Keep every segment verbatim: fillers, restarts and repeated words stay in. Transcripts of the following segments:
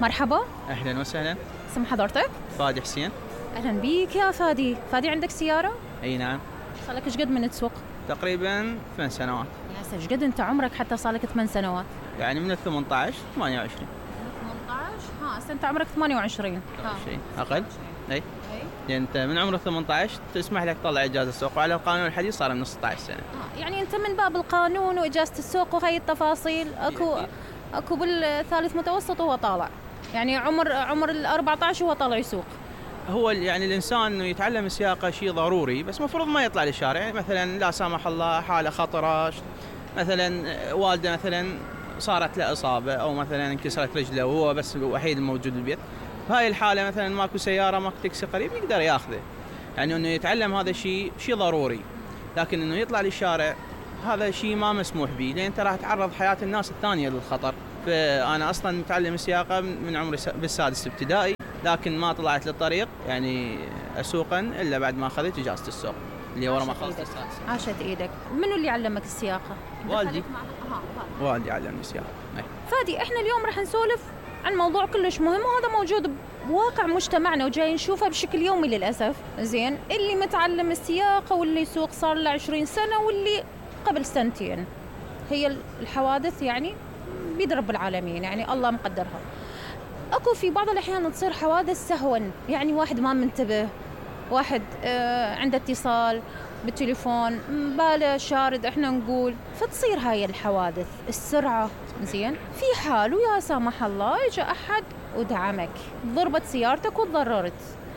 مرحبا. أهلا وسهلا. اسم حضرتك؟ فادي حسين. أهلا بيك يا فادي. فادي عندك سيارة؟ أي نعم. صار لك ايش قد من تسوق؟ تقريبا ثمان سنوات. يا سيدي ايش قد أنت عمرك حتى صار لك ثمان سنوات؟ يعني من الثمانية عشر ثمانية وعشرين. ثمانية عشر ها هسه أنت عمرك ثمانية وعشرين. شيء أقل. أي. يعني أنت من عمر ثمانية عشر تسمح لك تطلع إجازة السوق، وعلى القانون الحديث صار من ستة عشر سنة. آه يعني أنت من باب القانون وإجازة السوق وهي التفاصيل أكو أكو بالثالث متوسط وهو طالع، يعني عمر عمر ال أربعة عشر وهو طالع يسوق. هو يعني الإنسان إنه يتعلم السياقة شيء ضروري، بس مفروض ما يطلع للشارع. يعني مثلا لا سامح الله حالة خطرة، مثلا والده مثلا صارت له إصابة أو مثلا انكسرت رجله وهو بس الوحيد الموجود بالبيت، بهاي الحالة مثلا ماكو سيارة ماكو تاكسي قريب يقدر ياخذه. يعني إنه يتعلم هذا الشيء شيء ضروري، لكن إنه يطلع للشارع هذا شيء ما مسموح به، لأن أنت راح تعرض حياة الناس الثانية للخطر. فأنا أصلا متعلم السياقة من عمري بالسادس ابتدائي، لكن ما طلعت للطريق يعني أسوقا إلا بعد ما أخذت إجازة السوق اللي ورا ما خلصت السادس. عاشت إيدك. منو اللي علمك السياقة؟ والدي. والدي علمني السياقة. فادي احنا اليوم راح نسولف عن موضوع كلش مهم، وهذا موجود بواقع مجتمعنا وجاي نشوفه بشكل يومي للأسف. زين، اللي متعلم السياقة واللي يسوق صار له عشرين سنة واللي قبل سنتين، هي الحوادث يعني بيد رب العالمين، يعني الله مقدرها. اكو في بعض الأحيان تصير حوادث سهوا، يعني واحد ما منتبه، واحد آه عنده اتصال بالتليفون باله شارد احنا نقول، فتصير هاي الحوادث السرعة. زين، في حال ويا سامح الله اجى احد ودعمك، ضربت سيارتك وتضررت،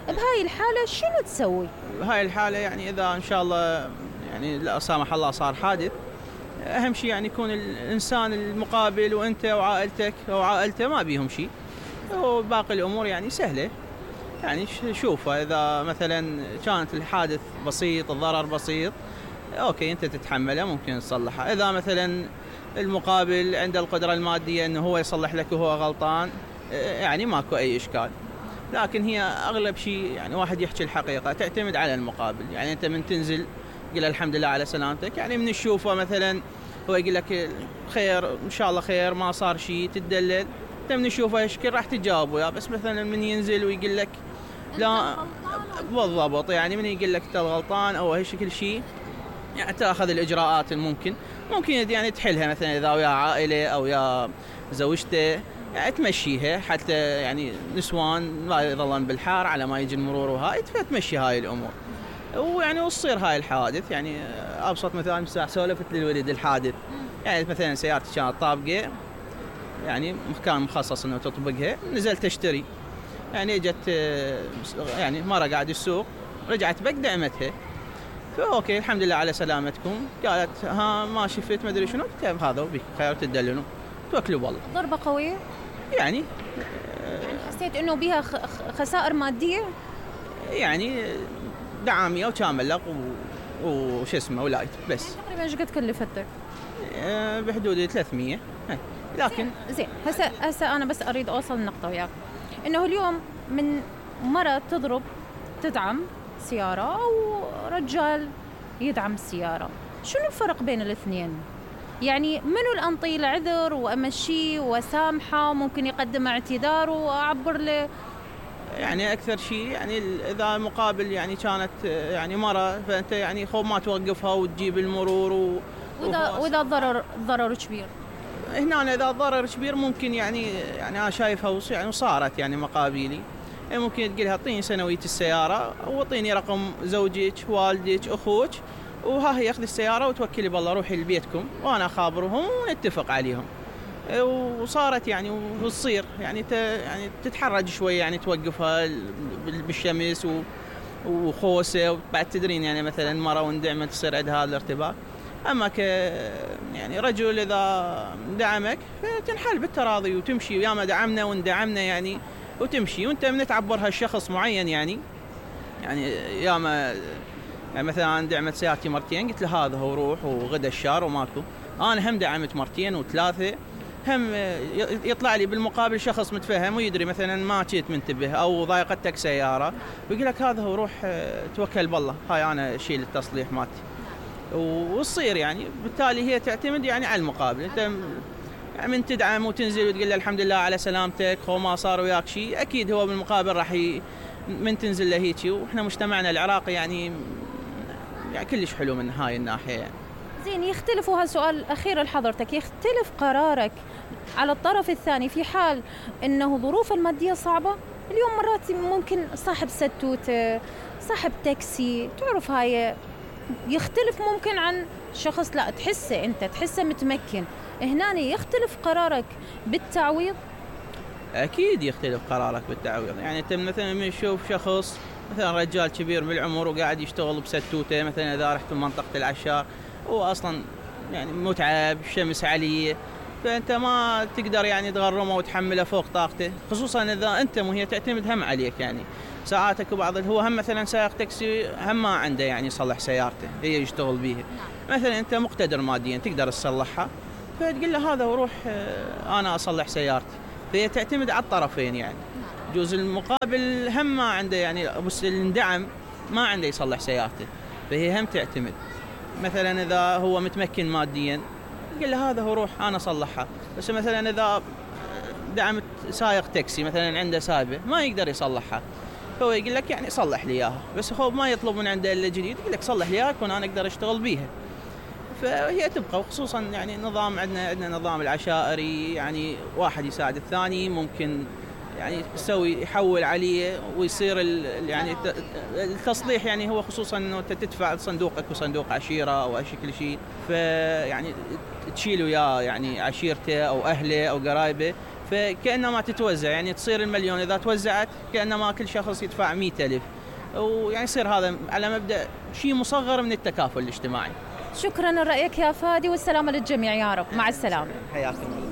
بهاي الحالة شنو تسوي؟ بهاي الحالة يعني إذا إن شاء الله يعني لا سامح الله صار حادث، أهم شيء يعني يكون الإنسان المقابل وأنت وعائلتك أو عائلته ما بيهم شيء، وباقي الأمور يعني سهلة. يعني شوفه إذا مثلا كانت الحادث بسيط، الضرر بسيط، أوكي أنت تتحمله ممكن تصلحه. إذا مثلا المقابل عنده القدرة المادية أنه هو يصلح لك وهو غلطان، يعني ماكو أي إشكال. لكن هي أغلب شيء يعني واحد يحكي الحقيقة، تعتمد على المقابل. يعني أنت من تنزل قل الحمد لله على سلامتك، يعني من تشوفه مثلا هو يقول لك خير إن شاء الله خير ما صار شيء تدلل، أنت من تشوفه يشكر راح تجاوب وياه. بس مثلا من ينزل ويقول لك لا بالضبط، يعني من يقول لك أنت الغلطان أو هالشكل شيء، يعني تأخذ الإجراءات الممكن ممكن يعني تحلها، مثلا إذا ويا عائلة أو يا زوجته يعني تمشيها، حتى يعني نسوان لا يظلن بالحار على ما يجي المرور وهاي، فتمشي هاي الأمور ويعني وتصير هاي الحوادث. يعني أبسط مثال مساح سولفت للولد الحادث، يعني مثلا سيارتي كانت طابقة، يعني مكان مخصص إنه تطبقها، نزلت أشتري، يعني اجت يعني مرة قاعد السوق، رجعت بك دعمتها، فأوكي الحمد لله على سلامتكم. قالت ها ما شفت ما أدري شنو، قلت هذا وبيك خير تدللوا توكلوا بالله. ضربة قوية يعني؟ يعني حسيت إنه بيها خسائر مادية؟ يعني دعامية وكامل وش اسمه ولايت بس. يعني تقريبا ايش قد كلفتك؟ بحدود ثلاثمية. لكن زين هسه هسه أنا بس أريد أوصل النقطة وياك، إنه اليوم من مرة تضرب تدعم سيارة أو رجال يدعم السيارة، شنو الفرق بين الاثنين؟ يعني منو الأنطي العذر وأمشي وسامحة وممكن يقدم اعتذار وأعبر له؟ يعني أكثر شيء يعني إذا مقابل يعني كانت يعني مرة، فأنت يعني خوف ما توقفها وتجيب المرور و... وإذا وإذا الضرر الضرر كبير، هنا إذا الضرر كبير ممكن يعني يعني أنا شايفها يعني صارت يعني مقابلي، يعني ممكن تقولها اعطيني سنوية السيارة واعطيني رقم زوجك والدك أخوك، وها هي أخذ السيارة وتوكلي بالله روحي لبيتكم وأنا أخابرهم ونتفق عليهم. وصارت يعني وتصير يعني يعني تتحرج شوي، يعني توقفها بالشمس وخوسة، وبعد تدرين يعني مثلا مرة وندعمت تصير عندها هذا الارتباك. أما ك يعني رجل إذا دعمك فتنحل بالتراضي وتمشي، ويا ما دعمنا وندعمنا يعني وتمشي، وأنت من تعبرها الشخص معين يعني يعني يا ما يعني مثلا أنا دعمت سيارتي مرتين قلت له هذا هو روح وغدا الشهر وماكو، أنا هم دعمت مرتين وثلاثة، هم يطلع لي بالمقابل شخص متفهم ويدري مثلا ما كنت منتبه أو ضايقتك سيارة ويقول لك هذا هو روح توكل بالله هاي أنا أشيل التصليح مالتي، وتصير يعني بالتالي هي تعتمد يعني على المقابل. أنت من تدعم وتنزل وتقول له الحمد لله على سلامتك وما صار وياك شيء، اكيد هو بالمقابل راح ي... من تنزل له هيك. واحنا مجتمعنا العراقي يعني يعني كلش حلو من هاي الناحيه يعني. زين، يختلف، وهالسؤال الأخير لحضرتك، يختلف قرارك على الطرف الثاني في حال أنه ظروف المادية صعبة؟ اليوم مرات ممكن صاحب ستوتة، صاحب تاكسي، تعرف هاي يختلف ممكن عن شخص لا تحسه أنت تحسه متمكن، هنا يختلف قرارك بالتعويض؟ أكيد يختلف قرارك بالتعويض. يعني أنت مثلا من تشوف شخص مثلا رجال كبير بالعمر وقاعد يشتغل بستوتة، مثلا إذا رحت منطقة العشار هو أصلا يعني متعب، شمس عليه، فأنت ما تقدر يعني تغرمه وتحمله فوق طاقته، خصوصا إذا أنت وهي تعتمد هم عليك. يعني ساعاتك وبعض هو هم مثلا سائق تاكسي هم ما عنده يعني يصلح سيارته هي يشتغل بيها، مثلا أنت مقتدر ماديا تقدر تصلحها، فتقول له هذا وروح أنا أصلح سيارتي. فهي تعتمد على الطرفين يعني. جوز المقابل هم ما عنده يعني بس اندعم ما عنده يصلح سيارته، فهي هم تعتمد. مثلا إذا هو متمكن ماديا قل له هذا هو روح أنا أصلحها. بس مثلا إذا دعمت سائق تاكسي مثلا عنده سايبة ما يقدر يصلحها، هو يقول لك يعني صلح لي إياها، بس هو ما يطلب من عنده إلا جديد، يقول لك صلح لي إياها كون أنا أقدر أشتغل بيها. فهي تبقى، وخصوصا يعني نظام عندنا عندنا نظام العشائري، يعني واحد يساعد الثاني، ممكن يعني يسوي يحول عليه ويصير يعني التصليح. يعني هو خصوصا انه انت تدفع صندوقك وصندوق عشيره او اي شكل شيء، فيعني تشيل وياه يعني عشيرته او اهله او قرايبه، فكانما تتوزع يعني تصير المليون اذا توزعت كانما كل شخص يدفع مئة ألف، ويعني يصير هذا على مبدا شيء مصغر من التكافل الاجتماعي. شكرا لرأيك يا فادي، والسلامة للجميع يا رب. مع السلامة. حياكم الله.